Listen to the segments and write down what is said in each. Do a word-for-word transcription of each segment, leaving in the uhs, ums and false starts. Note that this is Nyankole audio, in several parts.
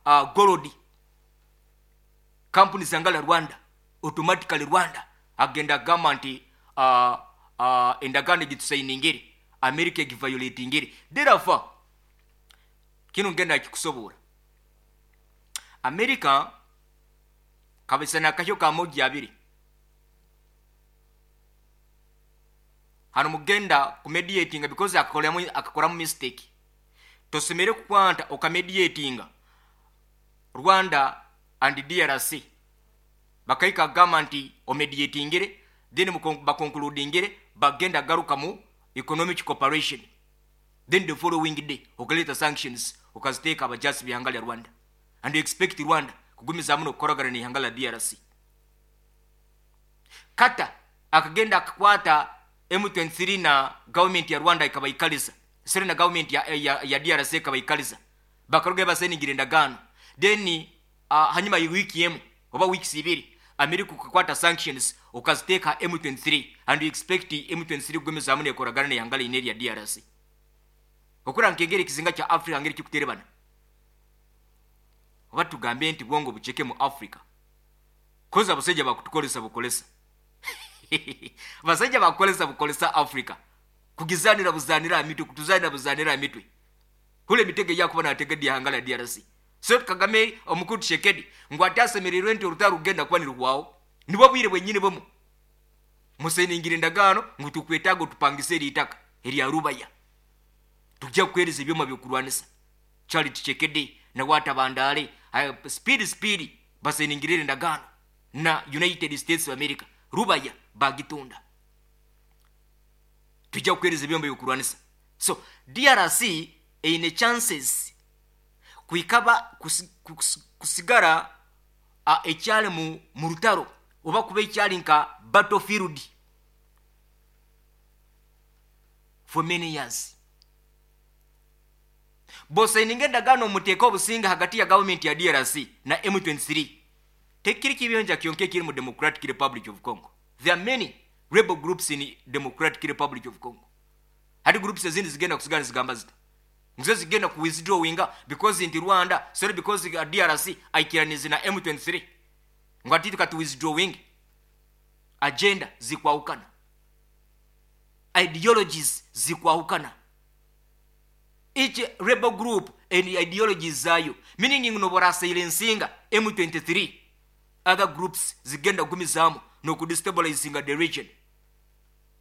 uh, gold kampuni zangala Rwanda, automatically Rwanda agenda agamba nti uh, uh, endagaano egitusayiningire America egiviolatingire. Therefore kino ngenda kikusobola America kabisa nakahyo kamogi abiri hano mugenda kumediatinga because akakoramu akakoramu mistake. Tosemere kukwanta okamediatinga Rwanda and D R C bakaika gamba nti omediatingire, then bakonkludingire bagenda garuka mu economic cooperation, then the following day okaleta sanctions okaziteka abajasi bihangala Rwanda and you expect Rwanda kugumiza muno kukoragana ni hangala D R C. Kata akagenda akakwata M twenty-three na government ya Rwanda ikabaikaliza, sere na government ya, ya, ya D R C ikabaikaliza, bakaruga baseningire ndagano, then uh, hanyuma wiki emu oba weeks ibiri America kukwata sanctions ukaziteka M twenty-three and you expect M twenty-three kugumiza muno kukoragana ni hangala ineri ya D R C. Okura nkengere kizinga cha Africa ngeri kikuterebana oba tugambe nti bwongo bucheke mu Africa koza abasajja bakutukolesa bukolesa basajja bakolesa bukolesa Africa kugizanira buzanira mitwe kutuzanira buzanira mitwe kule mitege yakuba nategedi hangala D R C. So Kagame omukuru Tshisekedi ngo atasemererwe nti orutaro rugenda kuba nirwawo nibo bwire bwenyine bomu museningire ndagano ngo tukwetago tupangise ritaka eri Rubaya tujja kuhereza ebyoma byokurwanisa. Charles Tshisekedi na watabandale speed speed baseningire ndagano na United States of America Rubaya bagitunda tujja kuhereza ebyoma byokurwanisa. So D R C eine chances kuikaba kusigara a ekyali mu murutaro oba kuba ekyali nka battlefield for many years. Bosa ndagano muteko obusinga hagati ya government ya D R C na M twenty-three. Tekiri kibiyonja kyonke kiri mu Democratic Republic of Congo. There are many rebel groups in Democratic Republic of Congo. Hadi groups ezindi zigenda kusigana zigamba zita ngizo zigenda ku withdrawinga because in Rwanda, sorry, because D R C aikiranize na M twenty-three ngati tukati withdrawing agenda zikwaukana, ideologies zikwaukana, each rebel group and ideologies zayo, meaning no bora silencinga M twenty-three other groups zigenda gumizamu no kudestabilizinga the region.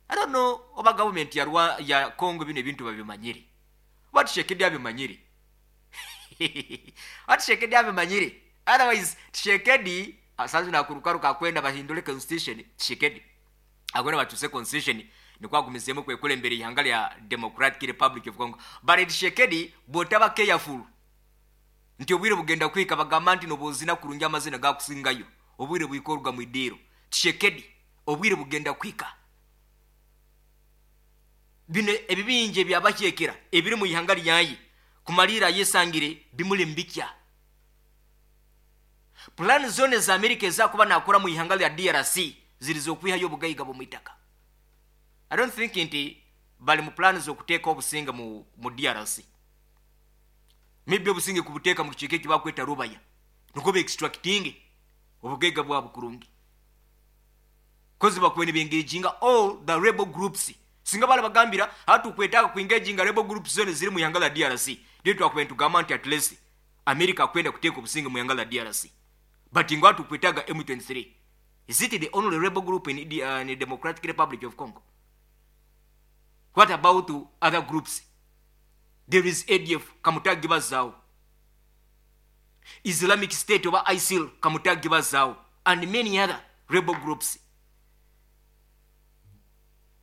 I don't know oba government ya Rwanda ya Congo bino ebintu babimanyire. What Tshisekedi abimanyire? What Tshisekedi abimanyire? Otherwise Tshisekedi asanzu na kurukaruka kwenda bahindule constitution. Tshisekedi agona batuse constitution nikwa gumizemu kwekule mbere ihangala ya Democratic Republic of Congo. But Tshisekedi botaba careful nti obwire bugenda kwika bagamba nti nobozina kurungi amazina gakusingayo obwire buikorwa mu idiro. Tshisekedi obwire bugenda kwika bino ebibinje byabakyekera ebiri mu ihanga lyayi kumalira yesangire bimuli mbikya. Plan zone za America ezakuba nakora mu ihanga lya D R C zilizokwihayo obugayiga bwo mwitaka. I don't think nti bali mu plan z'okuteeka obusinga mu, mu D R C. Maybe obusinge kubuteeka mu kicheke kibakweta Rubaya nuko be extracting obugayiga bwa bukurungi kozi bakwene bengeginga all the rebel groups. Singa bala bagambira hatu kwetaka kuengaginga rebel groups zone ziri mu ihanga la D R C. Ndio twakwenda tugamba nti at least America kwenda kuteka obusinge mu ihanga la D R C. But ingwa tukwetaga M twenty-three. Is it the only rebel group in the, uh, in the Democratic Republic of Congo? What about other groups? There is A D F kamutagi bazao, Islamic State oba ISIL kamutagi bazao, and many other rebel groups.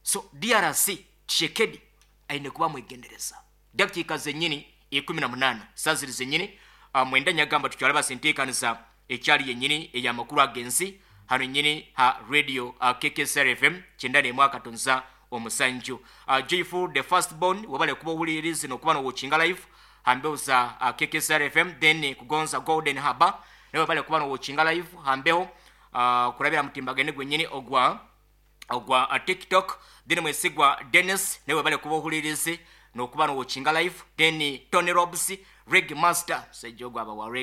So D R C Tshisekedi aine kuba mwegendereza. Dakika zenyini ikumi na munana saziri zenyini uh, mwenda nyagamba tukyala basentekanisa ekyali yenyini eyamakuru agensi hano nyini ha radio uh, K K S R F M kyenda mwaka tonza omusanju. Uh, Joyful the first born wabale kuba owulirizi n'okuba n'owatchinga live hambeho za uh, K K S R F M, then kugonza Golden Harbor nawe wabale kuba n'owatchinga live hambeho uh, kurabira mutimbagane gwenyini ogwa ogwa uh, TikTok, then mwesigwa Dennis nawe wabale kuba owulirizi n'okuba n'owatchinga live, then Tony Robs Reg Master sejogwa aba wa